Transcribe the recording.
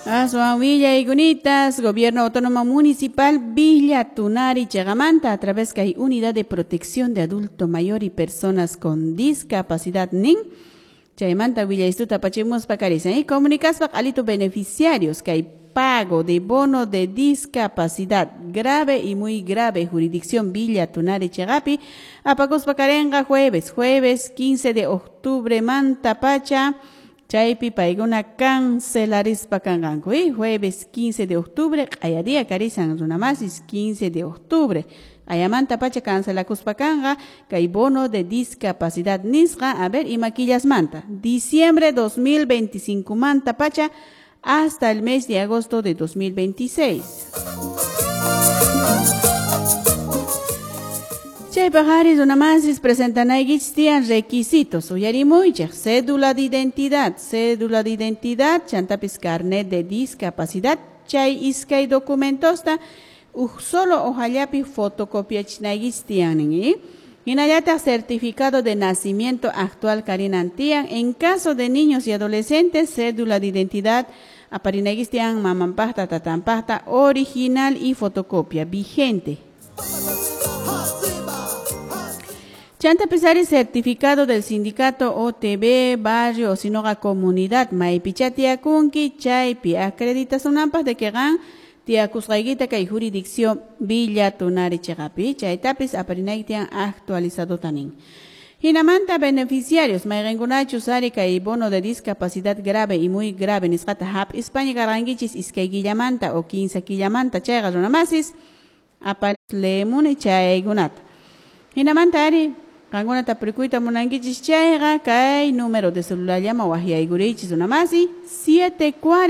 Aswan willaykunita, Gobierno Autónomo Municipal Villa Tunari chiqamanta a través kay Unidad de Protección de Adulto Mayor y Personas con Discapacidad nin. Chaymanta willaystuta apachimuspa karisan y comunicaspa q'alitu beneficiarios kay pago de bono de discapacidad grave y muy grave jurisdicción Villa Tunari chiqapi apakuspa karenqa jueves 15 de octubre manta pacha chaypi paykuna cancelarispa kanqanku jueves 15 de octubre q'aya día karisan runamasis 15 de octubre q'ayamanta pacha cancelakuspa kanqa kay bono de discapacidad nisqa a ver ima killasmanta diciembre 2025 manta pacha hasta el mes de agosto de 2026. Chaypaq ari runamasis presentanaykichis tiyan requisitos uyarimuychik cédula de identidad chantapis carnet de discapacidad chay iskay documentosta uj solo hojallapi fotocopiachinaykichis tiyan hinallataq certificado de nacimiento actual karinan tiyan en caso de niños y adolescentes cédula de identidad aparinaykichis tiyan mamanpaqta tatanpaqta original y fotocopia vigente. Chanta pisari certificado del sindicato OTB, barrio o sinoga comunidad maypicha tiyakunki chaypi acreditasunanpaq de que qan tiyakusqaykita kay jurisdicción Villa Tunari chiqapi chaytapis aparinayki tiyan actualizado tanin. Hinamanta beneficiarios mayqinkunachus ari kay bono de discapacidad grave y muy grave nisqata hap'ispaña karqankichis iskay killamanta o 15 killamanta chayqa runamasis apar leemuni chaykunata. Hinamanta ari qankuna tapurikuyta munankichis chayqa kay número de celular llama waqyaykurichis runamasi 740